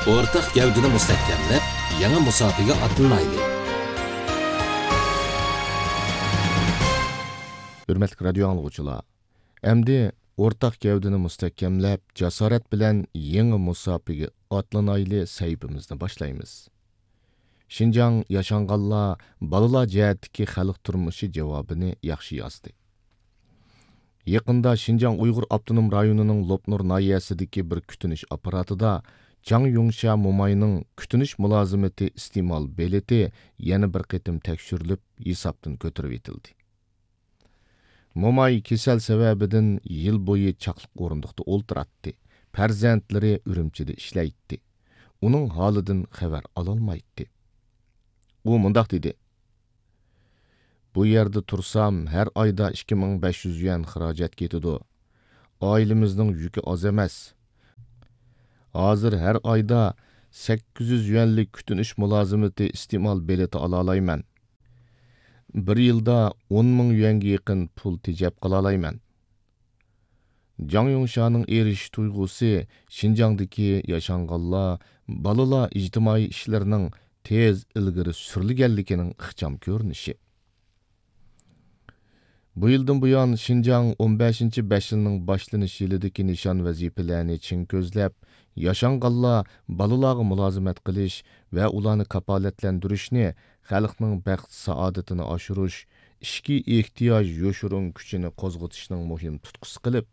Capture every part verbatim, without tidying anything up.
ئورتاق گەۋدىنى مۇستەھكەملەپ، يېڭى مۇساپىگە ئاتلىنايلى. ھۆرمەتلىك رادىيو ئاڭلىغۇچىلار، ئەمدى ئورتاق گەۋدىنى مۇستەھكەملەپ، جاسارەت بىلەن يېڭى مۇساپىگە ئاتلىنايلى سەھىپىمىزنى باشلايمىز. شىنجاڭ ياشانغانلار، بالىلار جەھەتتىكى خەلق تۇرمۇشى جاۋابىنى ياخشى يازدى. يېقىندا شىنجاڭ ئۇيغۇر ئاپتونوم رايونىنىڭ لوپنۇر ناھىيەسىدىكى بىر كۈتۈنۈش ئاپپاراتىدا جاڭ يۇڭشيا موماينىڭ كۈتۈنۈش مۇلازىمىتى ئىستېمال بېلىتى يەنە بىر قېتىم تەكشۈرۈلۈپ، ھېسابتىن كۆتۈرۈۋېتىلدى. موماي كېسەل سەۋەبىدىن يىل بويى چاقلىق ئورۇندۇقتا ئولتۇراتتى. پەرزەنتلىرى ئۈرۈمچىدە ئىشلەيتتى. ئۇنىڭ ھالىدىن خەۋەر ئالالمايتتى. ئۇ مۇنداق دېدى: «بۇ يەردە تۇرسام، ھەر ئايدا ئىككى مىڭ بەش يۈز يۈەن خىراجەت كېتىدۇ. ئائىلىمىزنىڭ يۈكى ئاز ئەمەس. ھازىر ھەر ئايدا سەككىز يۈز يۈەنلىك كۈتۈنۈش مۇلازىمىتى ئىستېمال بېلىتى ئالالايمەن. بىر يىلدا ئون مىڭ يۈەنگە يېقىن پۇل تېجەپ قالالايمەن.» جاڭ يۇڭشيانىڭ ئېرىشىش تۇيغۇسى شىنجاڭدىكى ياشانغانلار، بالىلار ئىجتىمائىي ئىشلىرىنىڭ تېز ئىلگىرى سۈرۈلگەنلىكىنىڭ ئىخچام كۆرۈنۈشى. بۇ يىلدىن بۇيان، شىنجاڭ ئون بەشىنچى بەش يىلنىڭ باشلىنىش يىلىدىكى نىشان ۋەزىپىلەرنى چىڭ كۆزلەپ، ياشانغانلار، بالىلارغا مۇلازىمەت قىلىش ۋە ئۇلارنى كاپالەتلەندۈرۈشنى خەلقنىڭ بەخت-سائادىتىنى ئاشۇرۇش، ئىچكى ئېھتىياج يوشۇرۇن كۈچىنى قوزغىتىشنىڭ مۇھىم تۇتقىسى قىلىپ،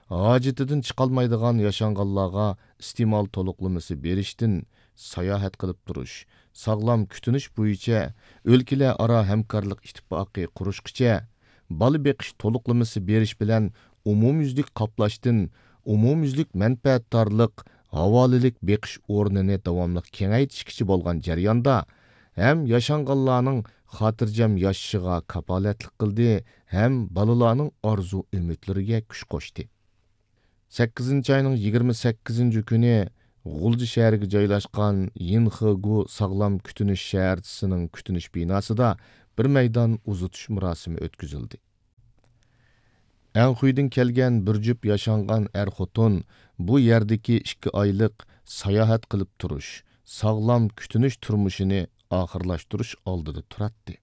ھاجىتىدىن چىقالمايدىغان ياشانغانلارغا ئىستېمال تولۇقلىمىسى بېرىشتىن، ساياھەت قىلىپ تۇرۇش، ساغلام كۈتۈنۈش بويىچە ئۆلكىلەر ئارا ھەمكارلىق ئىتتىپاقى قۇرۇشقىچە، بالا بېقىش تولۇقلىمىسى بېرىش بىلەن ئومۇميۈزلۈك قاپلاشتىن ئومۇميۈزلۈك مەنپەئەتدارلىق، ھاۋالىلىك بېقىش ئورنىنى داۋاملىق كېڭەيتىشكىچە بولغان جەرياندا، ھەم ياشانغانلارنىڭ خاتىرجەم ياشىشىغا كاپالەتلىك قىلدى، ھەم بالىلارنىڭ ئارزۇ-ئۈمىدلىرىگە كۈچ قوشتى. سەككىزىنچى ئاينىڭ يىگىرمە سەككىزىنچى كۈنى غۇلجا شەھىرىگە جايلاشقان يىنخېگۇ ساغلام كۈتۈنۈش شەھەرچىسىنىڭ كۈتۈنۈش بىناسىدا بىر مەيدان ئۇزىتىش مۇراسىمى ئۆتكۈزۈلدى. ئەنخۇيدىن كەلگەن بىر جۈپ ياشانغان ئەر-خوتۇن بۇ يەردىكى ئىككى ئايلىق ساياھەت قىلىپ تۇرۇش، ساغلام كۈتۈنۈش تۇرمۇشىنى ئاخىرلاشتۇرۇش ئالدىدا تۇراتتى.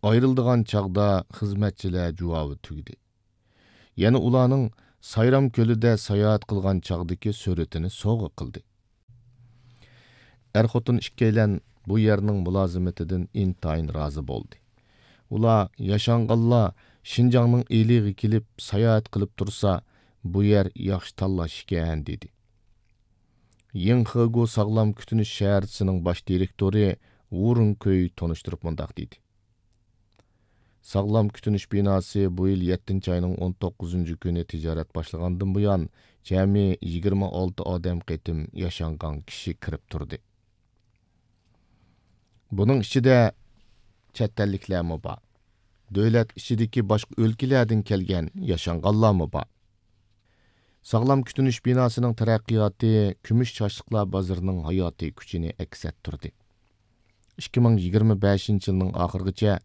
ئايرىلىدىغان چاغدا خىزمەتچىلەر جۇۋاۋى تۈگىدى. يەنە ئۇلارنىڭ سايرام كۆلىدە ساياھەت قىلغان چاغدىكى سۈرىتىنى سوۋغا قىلدى. ئەر-خوتۇن ئىككىيلەن بۇ يەرنىڭ مۇلازىمىتىدىن ئىنتايىن رازى بولدى. ئۇلار، ياشانغانلار شىنجاڭنىڭ ئىلىغا كېلىپ ساياھەت قىلىپ تۇرسا، بۇ يەر ياخشى تاللاش ئىكەن، دېدى. يىڭخېگۇ ساغلام كۈتۈنۈش شەھەرچىسىنىڭ باش دىرېكتورى ۋۇ رۇڭكۈي تونۇشتۇرۇپ مۇنداق دېدى: ساغلام كۈتۈنۈش بىناسى بۇ يىل يەتتىنچى ئاينىڭ ئون توققۇزىنچى كۈنى تىجارەت باشلىغاندىن بۇيان، جەمئىي يىگىرمە ئالتە ئادەم قېتىم ياشانغان كىشى كىرىپ تۇردى. بۇنىڭ ئىچىدە چەت ئەللىكلەرمۇ بار. دۆلەت ئىچىدىكى باشقا ئۆلكىلەردىن كەلگەن ياشانغانلارمۇ بار. ساغلام كۈتۈنۈش بىناسىنىڭ تەرەققىياتى كۈمۈش چاچلىقلار بازىرىنىڭ ھاياتىي كۈچىنى ئەكس ئەتتۈردى. ئىككى مىڭ يىگىرمە بەشىنچى يىلنىڭ ئاخىرىغىچە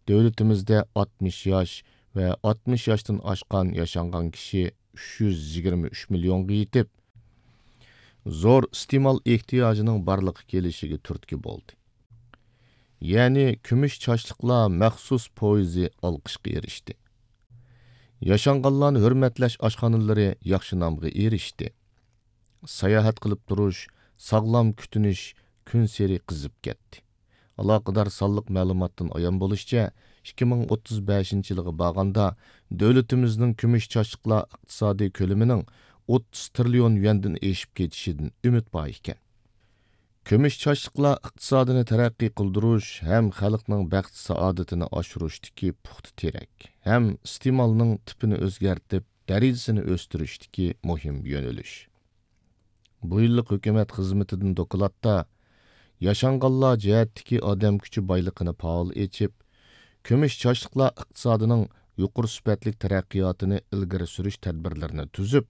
دۆلىتىمىزدە ئاتمىش ياش ۋە ئاتمىش ياشتىن ئاشقان ياشانغان كىشى ئۈچ يۈز يىگىرمە ئۈچ مىليونغا يېتىپ، زور ئىستېمال ئېھتىياجىنىڭ بارلىققا كېلىشىگە تۈرتكە بولدى. يەنى كۈمۈش چاچلىقلار مەخسۇس پويىزى ئالقىشقا ئېرىشتى. ياشانغانلارنى ھۆرمەتلەش ئاشخانىلىرى ياخشى نامغا ئېرىشتى. ساياھەت قىلىپ تۇرۇش، ساغلام كۈتۈنۈش كۈنسېرى قىزىپ كەتتى. ئالاقىدار سانلىق مەلۇماتتىن ئايان بولۇشىچە، ئىككى مىڭ ئوتتۇز بەشىنچى يىلغا بارغاندا، دۆلىتىمىزنىڭ كۈمۈش چاچلىقلار ئىقتىسادىي كۆلىمىنىڭ ئوتتۇز تىرىليون يۈەندىن ئېشىپ كېتىشىدىن ئۈمىد بار ئىكەن. كۈمۈش چاچلىقلار ئىقتىسادىنى تەرەققىي قىلدۇرۇش ھەم خەلقنىڭ بەخت-سائادىتىنى ئاشۇرۇشتىكى پۇختا تىرەك ھەم ئىستېمالنىڭ تىپىنى ئۆزگەرتىپ، دەرىجىسىنى ئۆستۈرۈشتىكى مۇھىم يۆنىلىش. بۇ يىللىق ھۆكۈمەت خىزمىتىدىن دوكلاتتا، ياشانغانلار جەھەتتىكى ئادەم كۈچى بايلىقىنى پائال ئېچىپ، كۈمۈش چاچلىقلار ئىقتىسادىنىڭ يۇقىرى سۈپەتلىك تەرەققىياتىنى ئىلگىرى سۈرۈش تەدبىرلىرىنى تۈزۈپ،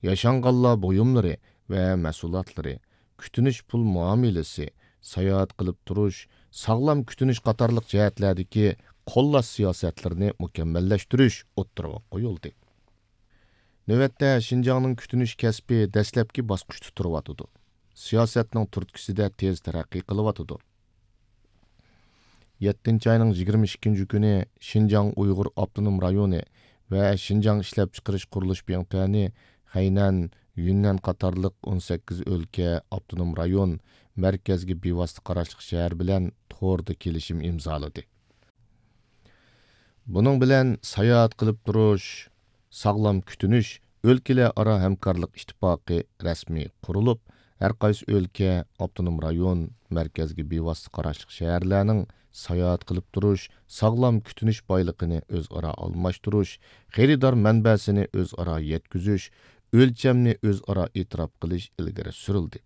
ياشانغانلار بۇيۇملىرى ۋە مەھسۇلاتلىرى، كۈتۈنۈش پۇل مۇئامىلىسى، ساياھەت قىلىپ تۇرۇش، ساغلام كۈتۈنۈش قاتارلىق جەھەتلەردىكى قوللاش سىياسەتلىرىنى مۇكەممەللەشتۈرۈش ئوتتۇرىغا قويۇلدى. نۆۋەتتە شىنجاڭنىڭ كۈتۈنۈش كەسپى دەسلەپكى باسقۇچتا تۇرۇۋاتىدۇ. سىياسەتنىڭ تۈرتكىسىدە تېز تەرەققىي قىلىۋاتىدۇ. يەتتىنچى ئاينىڭ يىگىرمە ئىككىنچى كۈنى شىنجاڭ ئۇيغۇر ئاپتونوم رايونى ۋە شىنجاڭ ئىشلەپچىقىرىش قۇرۇلۇش بىڭتۈەنى، خەينەن، يۈننەن قاتارلىق ئون سەككىز ئۆلكە، ئاپتونوم رايون، مەركەزگە بىۋاسىتە قاراشلىق شەھەر بىلەن توردا كېلىشىم ئىمزالىدى. بۇنىڭ بىلەن ساياھەت قىلىپ تۇرۇش، ساغلام كۈتۈنۈش ئۆلكىلەر ئارا ھەمكارلىق ئىتتىپاقى رەسمىي قۇرۇلۇپ، ھەر قايسى ئۆلكە، ئاپتونوم رايون، مەركەزگە بىۋاسىتە قاراشلىق شەھەرلەرنىڭ ساياھەت قىلىپ تۇرۇش، ساغلام كۈتۈنۈش بايلىقىنى ئۆزئارا ئالماشتۇرۇش، خېرىدار مەنبەسىنى ئۆزئارا يەتكۈزۈش، ئۆلچەمنى ئۆزئارا ئېتىراپ قىلىش ئىلگىرى سۈرۈلدى.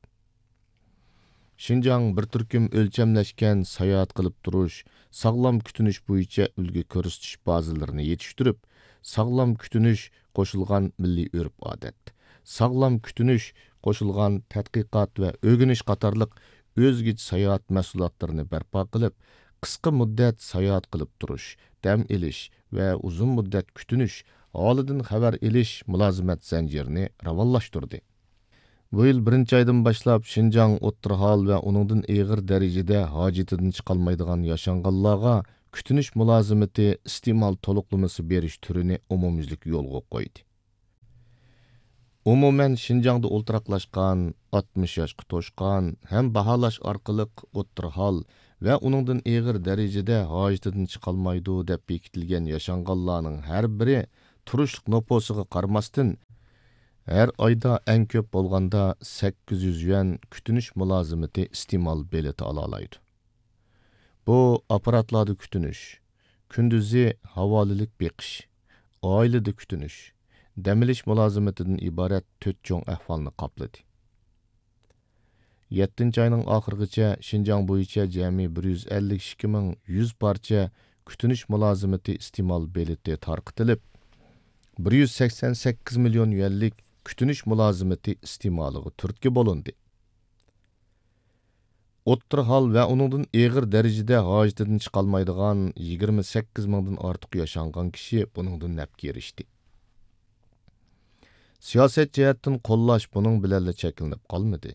شىنجاڭ بىر تۈركۈم ئۆلچەملەشكەن ساياھەت قىلىپ تۇرۇش، ساغلام كۈتۈنۈش بويىچە ئۈلگە كۆرسىتىش بازىلىرىنى يېتىشتۈرۈپ، ساغلام كۈتۈنۈش قوشۇلغان مىللىي ئۆرپ-ئادەت، ساغلام كۈتۈنۈش قوشۇلغان تەتقىقات ۋە ئۆگىنىش قاتارلىق ئۆزگىچە ساياھەت مەھسۇلاتلىرىنى بەرپا قىلىپ، قىسقا مۇددەت ساياھەت قىلىپ تۇرۇش، دەم ئېلىش ۋە ئۇزۇن مۇددەت كۈتۈنۈش، ھالىدىن خەۋەر ئېلىش مۇلازىمەت زەنجىرىنى راۋانلاشتۇردى. بۇ يىل بىرىنچى ئايدىن باشلاپ شىنجاڭ ئوتتۇرا ھال ۋە ئۇنىڭدىن ئېغىر دەرىجىدە ھاجىتىدىن چىقالمايدىغان ياشانغانلارغا كۈتۈنۈش مۇلازىمىتى ئىستېمال تولۇقلىمىسى بېرىش تۈرىنى ئومۇميۈزلۈك يولغا قويدى. ئومۇمەن، شىنجاڭدا ئولتۇراقلاشقان، ئاتمىش ياشقا توشقان ھەم باھالاش ئارقىلىق ئوتتۇرا ھال ۋە ئۇنىڭدىن ئېغىر دەرىجىدە ھاجىتىدىن چىقالمايدۇ دەپ بېكىتىلگەن ياشانغانلارنىڭ ھەر بىرى تۇرۇشلۇق نوپۇسىغا قارىماستىن، ھەر ئايدا ئەڭ كۆپ بولغاندا سەككىز يۈز يۈەن كۈتۈنۈش مۇلازىمىتى ئىستېمال بېلىتى ئالالايدۇ. بۇ ئاپپاراتلاردا كۈتۈنۈش، كۈندۈزى ھاۋالىلىك بېقىش، ئائىلىدە كۈتۈنۈش، دەم ئېلىش مۇلازىمىتىدىن ئىبارەت تۆت چوڭ ئەھۋالنى قاپلىدى. يەتتىنچى ئاينىڭ ئاخىرىغىچە شىنجاڭ بويىچە جەمئىي بىر يۈز ئەللىك ئىككى مىڭ يۈز پارچە كۈتۈنۈش مۇلازىمىتى ئىستېمال بېلىتى تارقىتىلىپ، بىر يۈز سەكسەن سەككىز مىليون يۈەنلىك كۈتۈنۈش مۇلازىمىتى ئىستېمالىغا تۈرتكە بولۇندى. ئوتتۇرا ھال ۋە ئۇنىڭدىن ئېغىر دەرىجىدە ھاجىتىدىن چىقالمايدىغان يىگىرمە سەككىز مىڭدىن ئارتۇق ياشانغان كىشى بۇنىڭدىن نەپكە ئېرىشتى. سىياسەت جەھەتتىن قوللاش بۇنىڭ بىلەنلا چەكلىنىپ قالمىدى.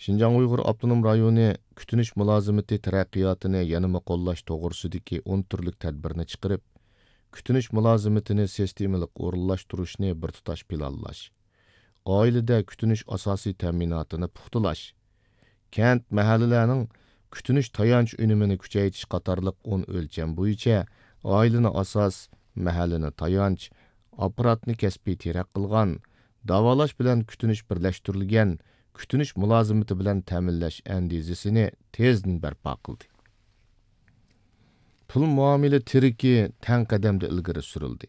شىنجاڭ ئۇيغۇر ئاپتونوم رايونى كۈتۈنۈش مۇلازىمىتى تەرەققىياتىنى يەنىمۇ قوللاش توغرىسىدىكى ئون تۈرلۈك تەدبىرنى چىقىرىپ، كۈتۈنۈش مۇلازىمىتىنى سىستېمىلىق ئورۇنلاشتۇرۇشنى بىر تۇتاش پىلانلاش، ئائىلىدە كۈتۈنۈش ئاساسىي تەمىناتىنى پۇختىلاش، كەنت، مەھەللىلەرنىڭ كۈتۈنۈش تايانچ ئۈنۈمىنى كۈچەيتىش قاتارلىق ئون ئۆلچەم بويىچە ئائىلىنى ئاساس، مەھەللىنى تايانچ، ئاپپاراتنى كەسپىي تىرەك قىلغان، داۋالاش بىلەن كۈتۈنۈش بىرلەشتۈرۈلگەن كۈتۈنۈش مۇلازىمىتى بىلەن تەمىنلەش ئەندىزىسىنى تېزدىن بەرپا قىلدى. پۇل مۇئامىلە تىرىكى تەڭ قەدەمدە ئىلگىرى سۈرۈلدى.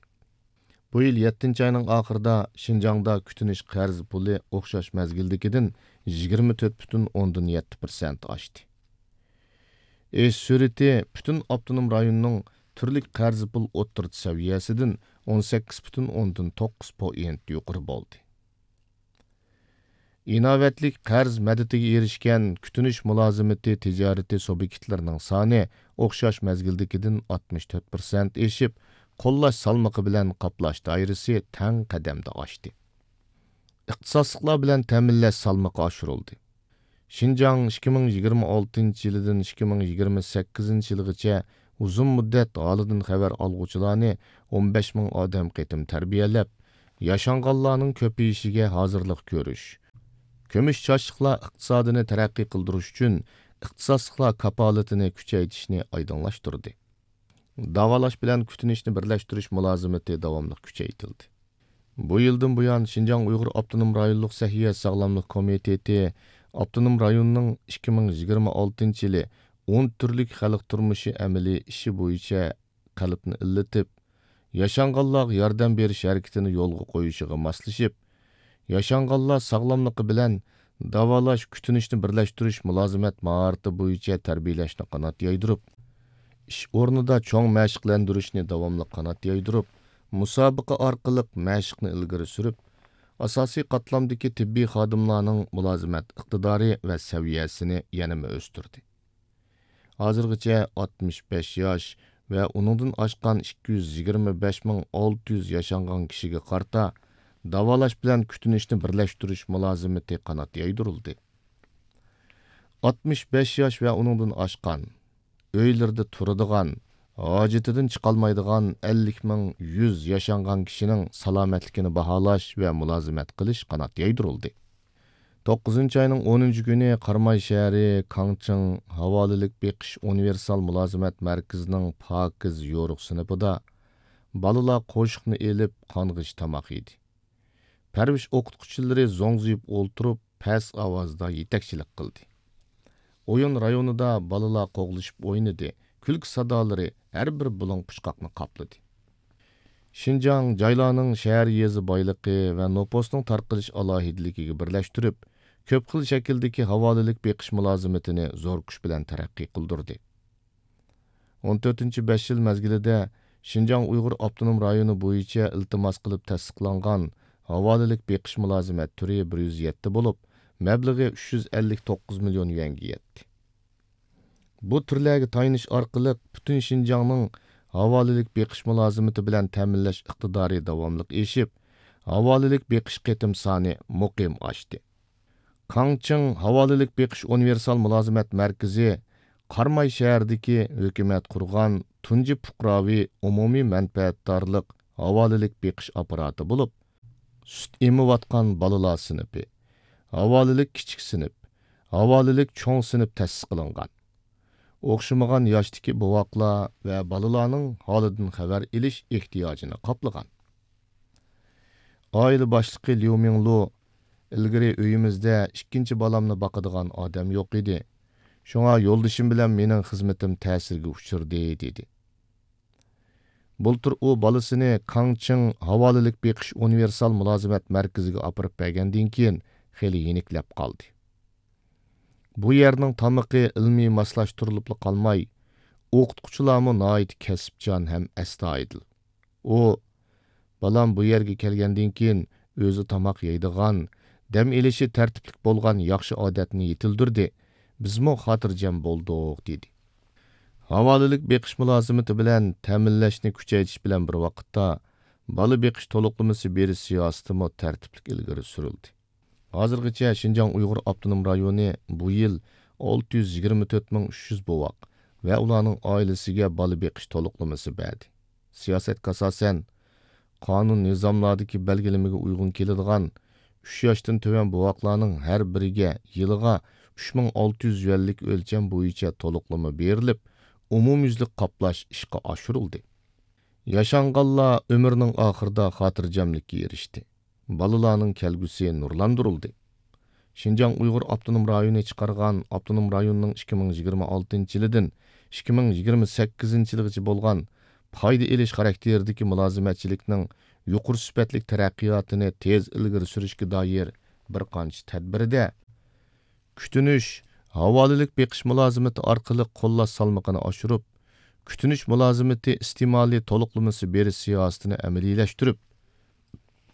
بۇ يىل يەتتىنچى ئاينىڭ ئاخىرىدا شىنجاڭدا كۈتۈنۈش قەرز پۇلى ئوخشاش مەزگىلدىكىدىن يىگىرمە تۆت پۈتۈن ئوندىن يەتتە پىرسەنت ئاشتى. ئېشىش سۈرئىتى پۈتۈن ئاپتونوم رايوننىڭ تۈرلۈك قەرز پۇل ئوتتۇرىچە سەۋىيەسىدىن ئون سەككىز پۈتۈن ئوندىن توققۇز پوئىنت يۇقىرى بولدى. ئىناۋەتلىك قەرز مەدىتىگە ئېرىشكەن كۈتۈنۈش مۇلازىمىتى تىجارىتى سۇبيېكتلىرىنىڭ سانى ئوخشاش مەزگىلدىكىدىن ئاتمىش تۆت پىرسەنت ئېشىپ، قوللاش سالمىقى بىلەن قاپلاش دائىرىسى تەڭ قەدەمدە ئاشتى. ئىختىساسلىقلار بىلەن تەمىنلەش سالمىقى ئاشۇرۇلدى. شىنجاڭ ئىككى مىڭ يىگىرمە ئالتىنچى يىلىدىن ئىككى مىڭ يىگىرمە سەككىزىنچى يىلغىچە ئۇزۇن مۇددەت ھالىدىن خەۋەر ئالغۇچىلارنى ئون بەش مىڭ ئادەم قېتىم تەربىيەلەپ، ياشانغانلارنىڭ كۆپىيىشىگە ھازىرلىق كۆرۈش، كۈمۈش چاچلىقلار ئىقتىسادىنى تەرەققىي قىلدۇرۇش ئۈچۈن ئىختىساسلىقلار كاپالىتىنى كۈچەيتىشنى ئايدىڭلاشتۇردى. داۋالاش بىلەن كۈتۈنۈشنى بىرلەشتۈرۈش مۇلازىمىتى داۋاملىق كۈچەيتىلدى. بۇ يىلدىن بۇيان، شىنجاڭ ئۇيغۇر ئاپتونوم رايونلۇق سەھىيە ساغلاملىق كومىتېتى ئاپتونوم رايوننىڭ ئىككى مىڭ يىگىرمە ئالتىنچى يىلى ئون تۈرلۈك خەلق تۇرمۇشى ئەمەلىي ئىشى بويىچە قەلبنى ئىللىتىپ، ياشانغانلارغا ياردەم بېرىش ھەرىكىتىنى يولغا قويۇشىغا ماسلىشىپ، ياشانغانلار ساغلاملىقى بىلەن داۋالاش، كۈتۈنۈشنى بىرلەشتۈرۈش مۇلازىمەت ماھارىتى بويىچە تەربىيەلەشنى قانات يايدۇرۇپ، ئىش ئورنىدا چوڭ مەشىقلەندۈرۈشنى داۋاملىق قانات يايدۇرۇپ، مۇسابىقە ئارقىلىق مەشىقنى ئىلگىرى سۈرۈپ، ئاساسىي قاتلامدىكى تېببىي خادىملارنىڭ مۇلازىمەت ئىقتىدارى ۋە سەۋىيەسىنى يەنىمۇ ئۆستۈردى. ھازىرغىچە ئاتمىش بەش ياش ۋە ئۇنىڭدىن ئاشقان ئىككى يۈز يىگىرمە بەش مىڭ ئالتە يۈز ياشانغان كىشىگە قارىتا داۋالاش بىلەن كۈتۈنۈشنى بىرلەشتۈرۈش مۇلازىمىتى قانات يايدۇرۇلدى. ئاتمىش بەش ياش ۋە ئۇنىڭدىن ئاشقان، ئۆيلىرىدە تۇرىدىغان، ھاجىتىدىن چىقالمايدىغان ئەللىك مىڭ يۈز ياشانغان كىشىنىڭ سالامەتلىكىنى باھالاش ۋە مۇلازىمەت قىلىش قانات يايدۇرۇلدى. توققۇزىنچى ئاينىڭ ئونىنچى كۈنى قاراماي شەھىرى كاڭچىڭ ھاۋالىلىك بېقىش ئۇنىۋېرسال مۇلازىمەت مەركىزىنىڭ پاكىز يورۇق سىنىپىدا بالىلار قوشۇقنى ئېلىپ، قانغىچ تاماق يېدى. پەرۋىش ئوقۇتقۇچىلىرى زوڭزىيىپ ئولتۇرۇپ، پەس ئاۋازدا يېتەكچىلىك قىلدى. ئويۇن رايونىدا بالىلار قوغلىشىپ ئوينىدى، كۈلكە سادالىرى ھەر بىر بۇلۇڭ پۇچقاقنى قاپلىدى. شىنجاڭ جايلارنىڭ شەھەر يېزا بايلىقى ۋە نوپۇسنىڭ تارقىلىش ئالاھىدىلىكىگە بىرلەشتۈرۈپ، كۆپ خىل شەكىلدىكى ھاۋالىلىك بېقىش مۇلازىمىتىنى زور كۈچ بىلەن تەرەققىي قىلدۇردى. ئون تۆتىنچى بەش يىل مەزگىلىدە شىنجاڭ ئۇيغۇر ئاپتونوم رايونى بويىچە ئىلتىماس قىلىپ تەستىقلانغان ھاۋالىلىك بېقىش مۇلازىمەت تۈرى بىر يۈز يەتتە بولۇپ، مەبلىغى ئۈچ يۈز ئەللىك توققۇز مىليون يۈەنگە يەتتى. بۇ تۈرلەرگە تايىنىش ئارقىلىق پۈتۈن شىنجاڭنىڭ ھاۋالىلىك بېقىش مۇلازىمىتى بىلەن تەمىنلەش ئىقتىدارى داۋاملىق ئېشىپ، ھاۋالىلىك بېقىش قېتىم سانى مۇقىم ئاشتى. كاڭچىڭ ھاۋالىلىك بېقىش ئۇنىۋېرسال مۇلازىمەت مەركىزى قاراماي شەھىرىدىكى ھۆكۈمەت قۇرغان تۇنجى پۇقراۋى ئومۇمىي مەنپەئەتدارلىق ھاۋالىلىك بېقىش ئاپپاراتى بولۇپ، سۈت ئېمىۋاتقان بالىلار سىنىپى، ھاۋالىلىك كىچىك سىنىپ، ھاۋالىلىك چوڭ سىنىپ تەسىس قىلىنغان. ئوخشىمىغان ياشتىكى بوۋاقلار ۋە بالىلارنىڭ ھالىدىن خەۋەر ئېلىش ئېھتىياجىنى قاپلىغان. ئائىلە باشلىقى ليۇ مىڭلۇ، «ئىلگىرى ئۆيىمىزدە ئىككىنچى بالامنى باقىدىغان ئادەم يوق ئىدى. شۇڭا يولدىشىم بىلەن مېنىڭ خىزمىتىم تەسىرگە ئۇچرىدى» دېدى. بۇلتۇر ئۇ بالىسىنى كاڭچىڭ ھاۋالىلىك بېقىش ئۇنىۋېرسال مۇلازىمەت مەركىزىگە ئاپىرىپ بەرگەندىن كېيىن خېلى يېنىكلەپ قالدى. بۇ يەرنىڭ تامىقى ئىلمىي ماسلاشتۇرۇلۇپلا قالماي، ئوقۇتقۇچىلارمۇ ناھايىتى كەسىپچان ھەم ئەستايىدىل. ئۇ، «بالام بۇ يەرگە كەلگەندىن كېيىن ئۆزى تاماق يەيدىغان، دەم ئېلىشى تەرتىپلىك بولغان ياخشى ئادەتنى يېتىلدۈردى، بىزمۇ خاتىرجەم بولدۇق» دېدى. ھاۋالىلىك بېقىش مۇلازىمىتى بىلەن تەمىنلەشنى كۈچەيتىش بىلەن بىر ۋاقىتتا، بالا بېقىش تولۇقلىمىسى بېرىش سىياسىتىمۇ تەرتىپلىك ئىلگىرى سۈرۈلدى. ھازىرغىچە شىنجاڭ ئۇيغۇر ئاپتونوم رايونى بۇ يىل ئالتە يۈز يىگىرمە تۆت مىڭ ئۈچ يۈز بوۋاق ۋە ئۇلارنىڭ ئائىلىسىگە بالا بېقىش تولۇقلىمىسى بەردى. سىياسەتكە ئاساسەن، قانۇن نىزاملاردىكى بەلگىلىمىگە ئۇيغۇن كېلىدىغان ئۈچ ياشتىن تۆۋەن بوۋاقلارنىڭ ھەر بىرىگە يىلىغا ئۈچ مىڭ ئالتە يۈز يۈەنلىك ئۆلچەم بويىچە تولۇقلىما بېرىلىپ، ئومۇميۈزلۈك قاپلاش ئىشقا ئاشۇرۇلدى. ياشانغانلار ئۆمرىنىڭ ئاخىرىدا خاتىرجەملىككە ئېرىشتى. بالىلارنىڭ كەلگۈسى نۇرلاندۇرۇلدى. شىنجاڭ ئۇيغۇر ئاپتونوم رايونى چىقارغان ئاپتونوم رايوننىڭ ئىككى مىڭ يىگىرمە ئالتىنچى يىلىدىن ئىككى مىڭ يىگىرمە سەككىزىنچى يىلغىچە بولغان پايدا ئېلىش خاراكتېرىدىكى مۇلازىمەتچىلىكنىڭ يۇقىرى سۈپەتلىك تەرەققىياتىنى تېز ئىلگىرى سۈرۈشكە دائىر بىر قانچە تەدبىرىدە، كۈتۈنۈش، ھاۋالىلىك بېقىش مۇلازىمىتى ئارقىلىق قوللاش سالمىقىنى ئاشۇرۇپ، كۈتۈنۈش مۇلازىمىتى ئىستېمالى تولۇقلىمىسى بېرىش سىياسىتىنى ئەمەلىيلەشتۈرۈپ،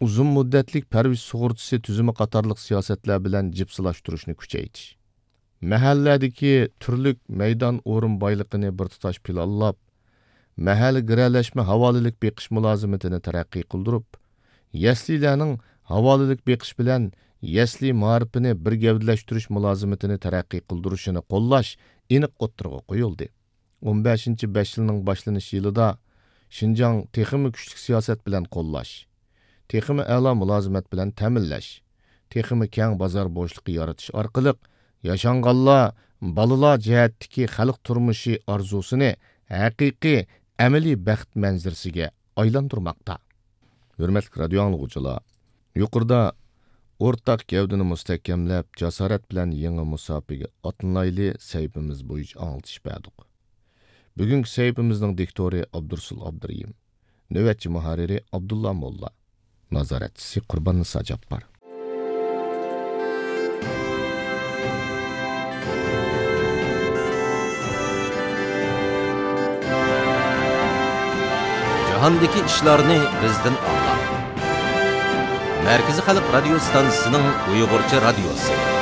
ئۇزۇن مۇددەتلىك پەرۋىش سۇغۇرتىسى تۈزۈمى قاتارلىق سىياسەتلەر بىلەن جىپسىلاشتۇرۇشنى كۈچەيتىش. مەھەللەدىكى تۈرلۈك مەيدان ئورۇن بايلىقىنى بىر تۇتاش پىلانلاپ، مەھەللە گىرەلەشمە ھاۋالىلىك بېقىش مۇلازىمىتىنى تەرەققىي قىلدۇرۇپ، يەسلىلەرنىڭ ھاۋالىلىك بېقىش بىلەن يەسلى مائارىپىنى بىر گەۋدىلەشتۈرۈش مۇلازىمىتىنى تەرەققىي قىلدۇرۇشىنى قوللاش ئېنىق ئوتتۇرىغا قويۇلدى. ئون بەشىنچى بەش يىلنىڭ باشلىنىش يىلىدا شىنجاڭ تېخىمۇ كۈچلۈك سىياسەت بىلەن قوللاش، تېخىمۇ ئەلا مۇلازىمەت بىلەن تەمىنلەش، تېخىمۇ كەڭ بازار بوشلۇقى يارىتىش ئارقىلىق ياشانغانلار، بالىلار جەھەتتىكى خەلق تۇرمۇشى ئارزۇسىنى ھەقىقىي ئەمەلىي بەخت مەنزىرىسىگە ئايلاندۇرماقتا. ھۆرمەتلىك رادىيو ئاڭلىغۇچىلار، يۇقىرىدا ئورتاق گەۋدىنى مۇستەھكەملەپ، جاسارەت بىلەن يېڭى مۇساپىگە ئاتلىنايلى سەھىپىمىز بويىچە ئاڭلىتىش بەردۇق. بۈگۈنكى سەھىپىمىزنىڭ دىكتورى ئابدۇرۇسۇل ئابدۇرېھىم. نۆۋەتچى مۇھەررىرى ئابدۇللا موللا. نازارەتچىسى قۇرباننىسا جاپپار. جاھاندىكى ئىشلارنى بىزدىن ئاڭلاڭ. مەركىزىي خەلق رادىيو ستانسىسىنىڭ ئۇيغۇرچە رادىيوسى.